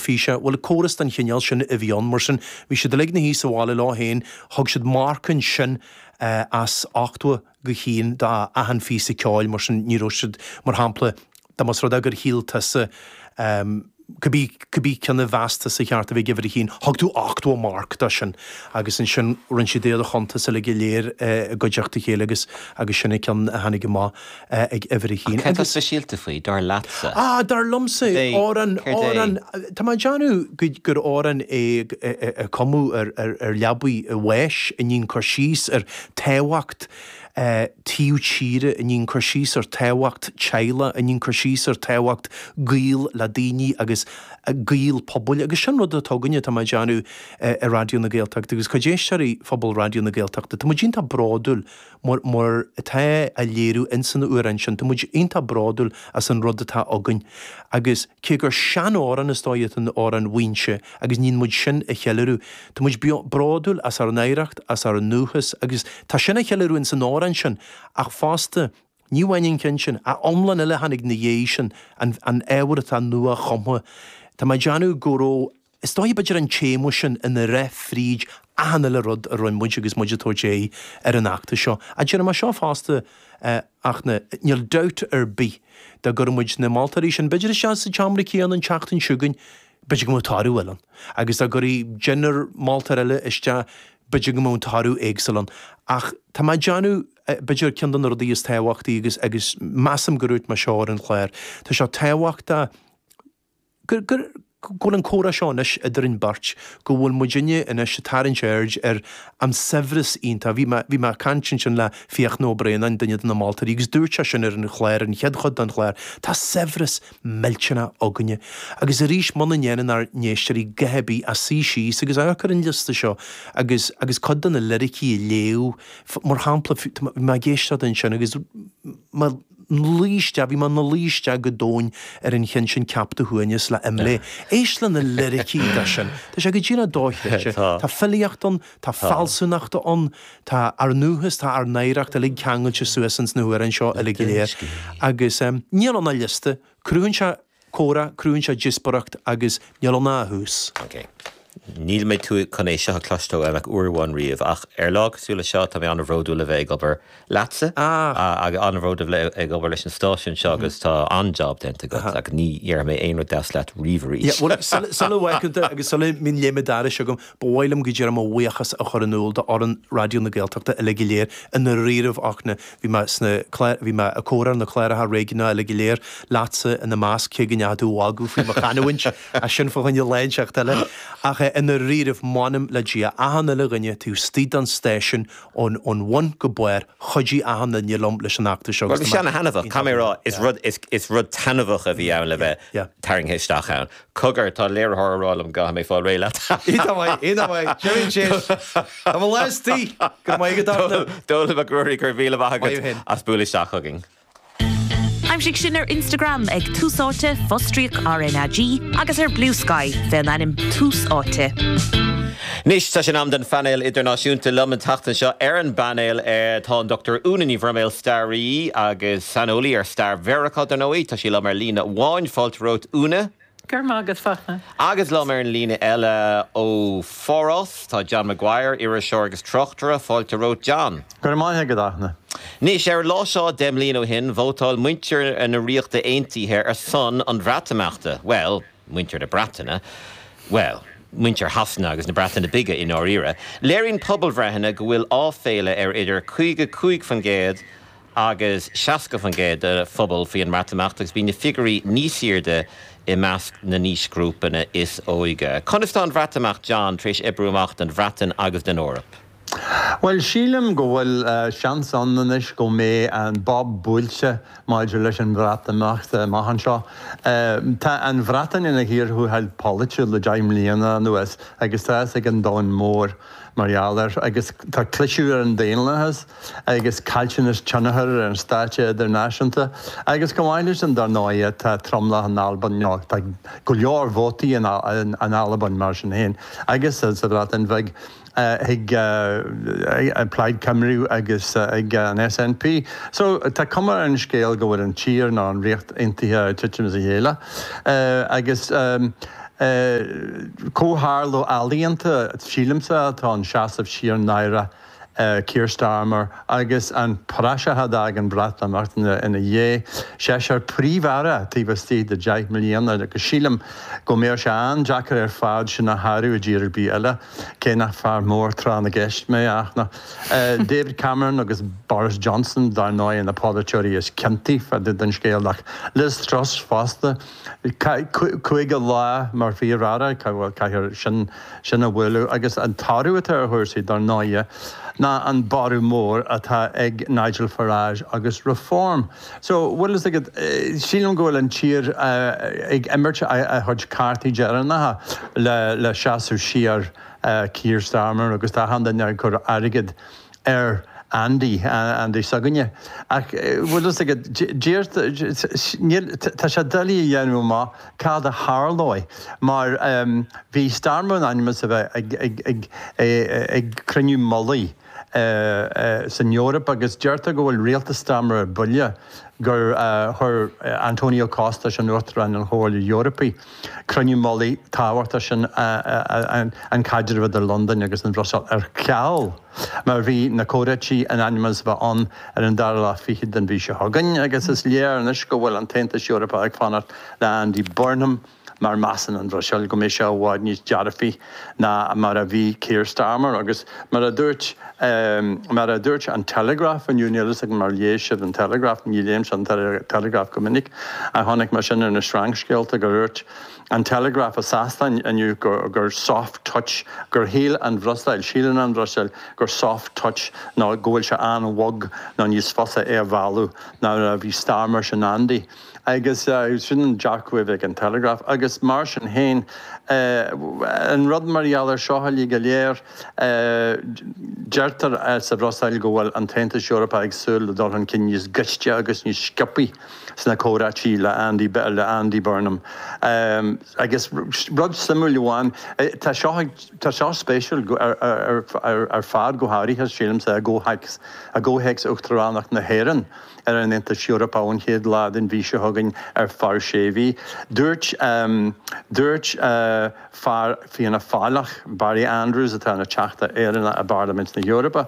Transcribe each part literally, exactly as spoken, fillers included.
teilifíse. Bhuel, córas den chineál sin a bhí ann, mar sin bhí siad uilig ina shuí sa bhaile leo féin, thug siad marc ansin as ochtó go haon d'achan phíosa ceoil, mar sin ní raibh siad, mar shampla, dá mba rud é gur shíl tusa cibé cibé ceann a mheas tusa cheart a bheith ag uimhir a haon, thug tú ochtó marc dó sin agus ansin rinne siad iad a chuntas uilig go léir i gcuideachta a chéile agus agus sin an ceann a tháinig amach ag uimhir a haon. Céard tá speisialta faoi, dar leatsa? Ah, dar liomsa, amhrán, amhrán, tá mé ag déanamh gur amhrán é a cumadh ar ar ar leabaidh a bháis, a dhein cur síos ar tábhacht taobh tíre, a dhein cur síos ar tábhacht teaghlaigh, a dhein cur síos ar tábhacht gaol le daoine agus gaol pobail agus sin rud atá againne, tá mé ag déanamh i Raidió na Gaeltachta agus cuid d'éisteoirí phobal Raidió na Gaeltachta, tá muid iontach bródúil mar mar atá á léiriú ins an amhrán sin, tá muid iontach bródúil as an rud atá againn agus cé gur sean-amhrán is dóigh an amhrán Mhaínse agus níonn muid sin a cheiliúradh, tá muid bródúil as ár n-oidhreacht, as ár ndúchas agus tá sin á cheiliúradh ins an amhrán sin ach fosta ní amháin an ceann sin, a iomlán eile a tháinig ina dhiaidh sin, an an ábhar atá nua-chumtha. Tá mé ag déanamh go raibh, is dóigh b'fhéidir an téama sin ina rith fríd achan uile rud a rinne muid agus muid ag tabhairt aghaidh ar an fheachtas seo. Ach déarfaidh mé seo fosta, ach na, níl dabht ar bith dá gcuirfeadh muid na moltóirí sin b'fhéidir isteach sa tseomra céanna an tseachtain seo chugainn, b'fhéidir go mbeadh toradh eile ann. Agus dá gcuirfí deichniúr moltóir eile isteach, b'fhéidir go mbeadh toradh éagsúil ann. Ach tá mé ag déanamh, b'fhéidir ceann de na rudaí is tábhachtaí agus, agus measaim gur dhúirt mé seo ar an chlár, tá sé tábhachtach gur, gur, go bhfuil an comhrá seo anois idir an beirt, go bhfuil muidinne anois ag tarraingt aird ar an saibhreas iontach. Bhí mé, bhí mé ag caint ansin le Fiachna Ó Braonáin, duine de na moltóirí, agus dúirt sé sin ar an chlár, an chéad chuid den chlár, tá saibhreas millteanach againne. Agus arís, muna ndéanann ár n-éisteoirí a dhath ar bith ach suí síos agus amharc ar an liosta seo agus, agus cuid de na liricí a léamh, mar shampla, bhí mé ag éisteacht ansin agus mé luí isteach, bhí mé ina luí isteach go domhain ar an cheann sin Ceap do Shuaimhneas le Imlé. Éist le na liricí de sin. Tá sé go díreach dochreidte. Tá filíocht ann, tá fealsúnacht ann, tá ár ndúchas, tá ár n-oidhreacht uilig ceangailte suas ins na hamhráin seo uilig go léir. Agus níl ann ach liosta. Cruthaíonn sé comhrá, cruthaíonn sé díospóireacht agus níl ann ach a thús. Ok. Níl mé tú chun é seo a chloisteáil uaim ach uair amháin riamh, ach ar lá cosúil le seo tá mé an-bhródúil a bheith ag obair leatsa agus an-bhródúil a bheith ag obair leis an stáisiún seo agus tá an-jab déanta agat agus ní dhéarfaidh mé aon rud deas leat riamh arís. Bhuel, sula bhfágann tú agus sula mbíonn léim an dorais agam, ba mhaith liom go díreach mo bhuíochas a chur in iúl d'fhoireann Raidió na Gaeltachta uilig go léir i ndáiríribh ach na, bhí mé sna clár, bhí mé ag comhrá ar na cláracha réigiúnacha uilig go léir, leatsa ina measc, cé go ndeachaigh tú a mhagadh faoi mo chanúint, ach sin fá choinne lá inteacht eile. Ach i ndáiríribh, m'anam le Dia, achan uile dhuine taobh istigh den stáisiún, ón ón bhun go barr, chuidigh achan duine liom leis an fheachtas seo agus tá mé. Bhuel, bhí sé ana-thaitneamhach, caithfidh mé a rá, is rud, is, is rud taitneamhach a bhí ann le bheith tarraingthe isteach ann. Cogar, tá léiritheoir ag rá liom go gcaithfidh mé fáil réidh leat. Iontach maith, iontach maith, Jimmy Chase, tá mo lá istigh! Go raibh maith agat, Dafna. Dónall Mac Ruairí, go raibh míle maith agat as bualadh isteach chugainn. Aimsigh sinn ar Instagram ag Tús Áite, fostríoc RnaG, agus ar Bluesky fén ainm Tús Áite. Anois tá sé in am don phainéal idirnáisiúnta. Liom an tseachtain seo ar an bpainéal tá an Dr Úna Ní Bhroiméil, staraí agus saineolaí ar stair Mheiriceá, dar ndóigh. Tá sí liom ar líne amháin. Fáilte romhat, Úna. Go raibh maith agat, Fachtna. Agus liom ar an líne eile ó Pháras, tá John Maguire, iriseoir agus tráchtaire. Fáilte romhat, John. Go raibh maith agat, a Fhachtna. Anois, ar an lá seo deich mbliana ó shin, vótáil muintir na Ríochta Aontaithe ar son an Bhreatimeachta. Bhuel, muintir na Breataine. Bhuel, muintir Shasana agus na Breataine Bige i ndáiríre. Léiríonn pobalbhreitheanna go bhfuil áiféala ar idir caoga cúig faoin gcéad agus seasca faoin gcéad de phobal faoi an mBreatimeacht agus bíonn na figiúirí níos airde i measc na n-aoisghrúpanna is óige. Conas tá an Bhreatimeacht, John, tar éis oibriú amach don Bhreatain agus don Eoraip? Bhuel, sílim go bhfuil seans ann anois go mbeidh an bob buailte maidir leis an Bhreatimeacht amach anseo. Tá an Bhreatain ina chíor thuathail polaitiúil le deich mbliana anuas agus tá fhios ag an domhan mór mar gheall air agus tá cliseadh ar an daonlathas agus caillteanas tionchair ar an stáitse idirnáisiúnta agus chomh maith leis sin dar ndóigh tá tromlach in Albain, nó tá go leor vótaí in Albain mar sin féin agus sa Bhreatain Bheag ag Plaid Cymru agus ag an SNP. So tá cuma ar an scéal go bhfuil an tír nó an Ríocht Aontaithe ag titim as a chéile agus Comhtharlú ealaíonta, sílimse, atá an seasamh siar náireach Keir Starmer agus an praiseach a d'fhág an Bhreatimeacht ina dhiaidh. Seisear príomh-aire taobh istigh de deich mbliana agus sílim go mbeadh sé an-deacair ar fad sin a shárú i dtír ar bith eile, cé nach fear mór tráth na gceist mé ach na David Cameron agus Boris Johnson dar ndóigh na polaiteoirí is ciontaí fá dtaobh den scéal ach Liz Truss fosta. Caoga lá mar Phríomh-Aire, caithfear sin sin a bhualadh agus an toradh atá ar chúrsaí dar ndóigh ná an borradh mór atá ag Nigel Farage agus Reform. So bhfuil fhios agat, sílim go bhfuil an tír ag imirt a chuid cártaí deireanacha le le seasamh siar Keir Starmer agus tá achan duine ag cur airgead ar Andy, Andy s'againne. Ach bhfuil fhios agat, níl, tá sé doiligh a dhéanamh amach cad a tharlóidh mar bhí Starmer in ainm is a bheith ag, ag, ag, ag cruinniú mullaigh san Eoraip agus deirtear go bhfuil rialtas Starmer ar buile gur chuir Antonio Costa, sin Uachtarán an Chomhairle Eorpaí, cruinniú mullaigh tábhachtach sin an caidreamh idir Londain agus an Bhruiséil ar ceal mar bhí na comhráití in ainm is a bheith ann ar an dara lá fichead den mhí seo chugainn agus is léir anois go bhfuil an tAontas Eorpach ag fanacht le Andy Burnham mar measann an Bhruiséil go mbeidh sé i bhfad níos dearfaí ná mar a bhí Keir Starmer agus mar a dúirt mar a dúirt an Telegraph inniu, níl fhios agam ar léigh sibh an Telegraph, ní léimse an Telegraph go minic ach chonaic mé sin ar na sreangscéalta gur dhúirt an Telegraph i Sasana inniu gur gur soft touch, gur shíl an Bhruiséil, síleann an Bhruiséil gur soft touch nó go bhfuil sé an-bhog nó níos fusa é a mhealladh ná mar a bhí Starmer sin Andy. Agus sin an dearcadh a bhí ag an Telegraph. Agus mar sin féin, an rud mar gheall air seo uilig go léir, deirtear sa Bhruiséil go bhfuil an tAontas Eorpach ag súil le dul chun cinn níos gaiste agus níos sciobthaí sna comhráití le Andy, le Andy Burnham. Agus rud suimiúil amháin, tá seo, tá seo spéisiúil ar fad, go háirithe, sílimse, i gcomhthéacs Uachtaránacht na hÉireann. ar an Aontas Eorpach ón chéad lá den mhí seo chugainn ar feadh sé mhí. Dúirt dúirt fear Fianna Fáileach, Barry Andrews, atá ina Theachta Éireannach i bParlaimint na hEorpa,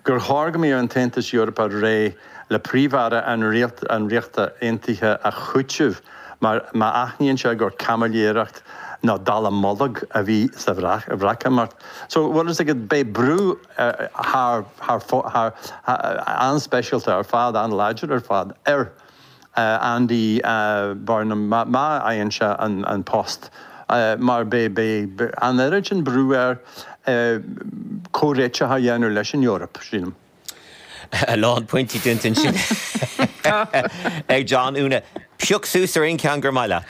gur chóir go mbeadh an tAontas Eorpach réidh le Príomh-Aire an an Ríochta Aontaithe a chúiteamh mar má aithníonn sé gur caimiléireacht nó dallamullóg a bhí sa Bhreatimeacht. So, bhfuil fhios agat, beidh brú thar, thar, thar, an-speisialta ar fad, an-láidir ar fad ar Andy Burnham má fhaigheann sé an post mar beidh, beidh an oiread sin brú air comhréiteach a dhéanamh leis an Eoraip, sílim. A lán pointí déanta ansin ag John. Úna, pioc suas ar aon cheann gur maith leat,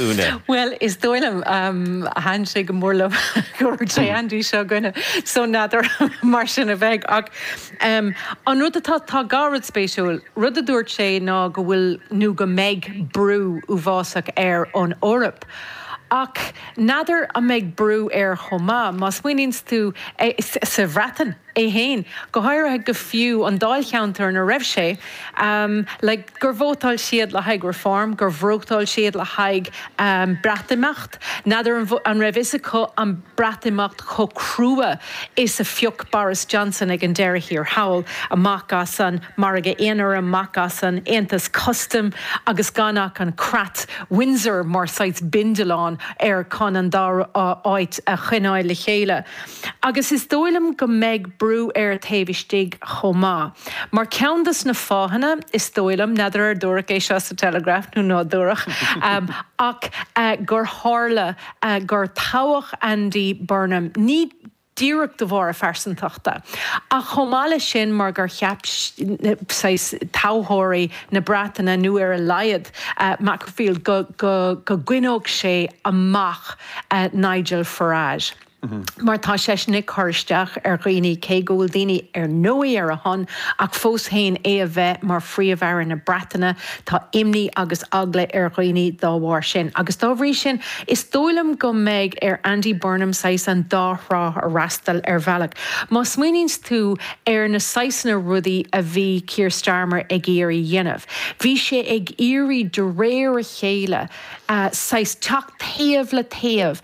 Úna. Bhuel, is dóigh liom, thaitin sé go mór liom go raibh sé Andy seo againne, so n'fheadar mar sin a bheidh. Ach an rud atá, tá dhá rud spéisiúil. Rud a dúirt sé ná go bhfuil nó go mbeidh brú uafásach air ón Eoraip. Ach n'fheadar an mbeidh brú air chomh maith, má smaoiníonns tú sa Bhreatain é fhéin, go háirithe go fiú an dáilcheantar ina raibh sé, like gur vótáil siad le haghaidh Reform, gur vótáil siad le haghaidh Breatimeacht. N'fheadar an raibh fhios acu an Breatimeacht chomh crua is a phioc Boris Johnson ag an deireadh thiar thall, amach as an Margadh Aonair, amach as an Aontas Custaim agus gan ach an Creat Windsor mar saghas bindealán air chun an dá áit a choinneáil le chéile. Agus is dóigh liom go mbeidh brú air taobh istigh chomh maith. Mar ceann dos na fáthanna, is dóigh liom, n'fheadar ar dúradh é seo sa Telegraph nó ná dúradh, ach gur tharla gur toghadh Andy Burnham, ní díreach de bharr a phearsantachta, ach chomh maith leis sin mar gur cheap saghas toghthóirí na Breataine, nó ar a laghad Macclesfield, go go go gcoinneodh sé amach Nigel Farage. Mar tá seisean ag cur isteach ar dhaoine cé go bhfuil daoine ar ndóigh ar a shon ach fós féin é a bheith mar Phríomh-Aire na Breataine tá imní agus eagla ar dhaoine dá bharr sin. Agus dá bhrí sin is dóigh liom go mbeidh ar Andy Burnham saghas an dá thrá a fhreastal ar bhealach. Má smaoiníonn tú ar na saghsanna rudaí a bhí Keir Starmer ag iarraidh dhéanamh. Bhí sé ag iarraidh de réir a chéile saghas teacht taobh le taobh.